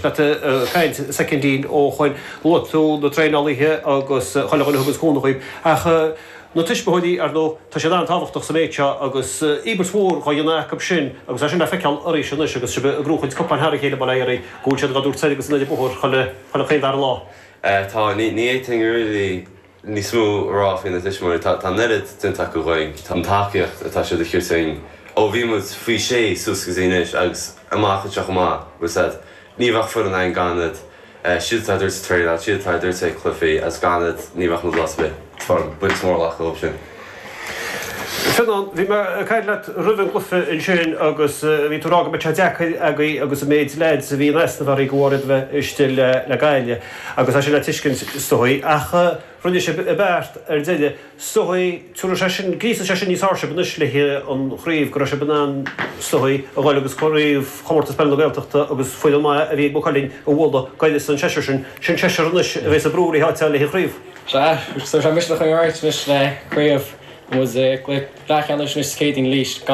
éisteacht leat ag caint soicindín ó shoin. Luaigh tú na traenálaithe agus chuile dhuine a thuganns cúnamh dhaoib. Ach na tuismitheoirí, ar ndóigh, tá siad an-tábhachtach sa méid seo agus íobairt mhór dhá dhéanamh acu sin agus é sin le feiceáil arís anois agus sibh ag gnóchaint cupáin thar a chéile, bail ó Dhia oraibh, go bhfuil siad dhá dtabhairt soir agus anoir an bóthar chuile chaon dara lá. Tá, ní fhéadfainn really níos mó a rá faoi na tuismitheoirí. Tá an oiread déanta acu dhúinn. Tá an tacaíocht atá siad a thabhairt dúinn ó bhí muid faoi sé suas go dtí anois agus amach anseo chomh maith, bhfuil 's a'd. Ní bheadh foireann againn gan iad. Siad atá ag tabhairt traenáil, siad atá ag tabhairt ag cluichí agus gan iad ní bheadh muid lá ar bith. Tá buíochas mór le dóibh sin. Fionán, bhí mé ag caint leat roimh an gcluiche ansin agus bhí tú ag rá go mbeadh sé deacair agaibh agus an méid leaids a bhí in easnamh oraibh go bhfáir iad a bheith istigh le Gaillimh agus é sin le tuiscint is dóigh. Ach rinne sibh an beart ar deireadh. Is dóigh, tabharfaidh sé sin, gríosfaidh sé sin níos fearr sibh anois le haghaidh an chraobh go raibh sibh in ann is dóigh a dhul agus craobh Chomórtas Peile na Gaeltachta agus foireann maith a bhí ag Maigh Cuilinn a bhualadh gairid an seisear sin. Sin seisear anois a bheas ag brú le háit a fháil le haghaidh an chraobh. Sea, tabharfaidh sé misneach dúinn anois le craobh. Muid i gcluiche leathcheannais anois Céadaoin arís gan.